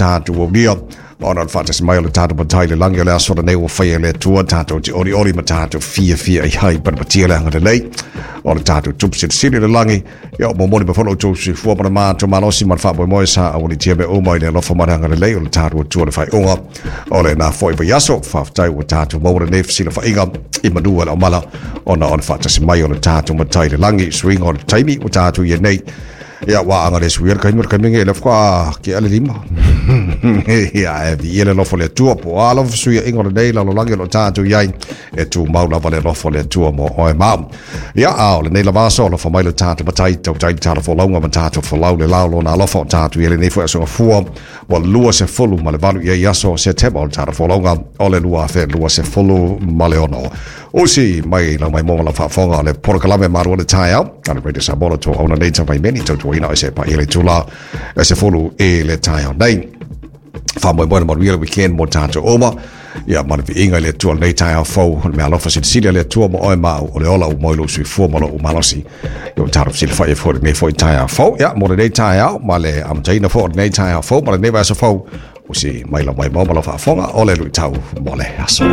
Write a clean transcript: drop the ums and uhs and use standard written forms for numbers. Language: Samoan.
tatou aulia ona o le faatasi mai o le tatou Matai i le lagi o le aso lenei ua faia e le Atua tatou te olioli ma tatou fiafia i ai panapatia le agalelei o le tatou Tupu Silisili i le lagi. Ia, o momoli mai foi lo outou soifua ma le matou malosi ma le faamoemoe sa aualitia mea uma i le alofa ma le agalelei o le tatou Atua le faaiuga o lena foi vaiaso. Faafetai ua tatou maua lenei fesilafaiga i manu o le aumala ona o le faatasi mai o le tatou Matai i le lagi. Suiga o le taimi ua tatou i ai nei. Ia, ua aga le suia le kaimi o le kaimi nge le whaka ke ale lima. Ia, e vi le alofa o le Atua po o a lava fesuiaiga o lenei lalolagi o lo o tatou i ai e tumau lava le alofa o le Atua mo oe ma au. Ia, a o lenei lava aso, alofa mai le tatou Matai, tautai le tala folauga ma tatou folau le lao lona alofa o tatou i ai lenei foi aso gafua ua 28 i ai aso o Setema o le tala folauga o le 2026. Usi mai lau mai mo lau faafofoga o le polokalame Malu o le Taeao a le Radio Samoa o tou auna nei tau mai meni tautuaina o se pa i le tula e se fulu i le taeao nei. Faamoemoe na manuia le weekend mo tatou uma. Ia ma le viiga i le Atua lenei taeao fou, o le mea alofa silisili a le Atua mo oe ma au, o le ola ua moi lou soifua ma lou malosi. Ia ua tatou fesilafai ai foi lenei foi taeao fou. Ia mo lenei taeao ma le amataina foi o lenei taeao fou ma lenei vaiaso fou, usi mai lau maimoa ma lau faafofoga o le luitau mo le aso.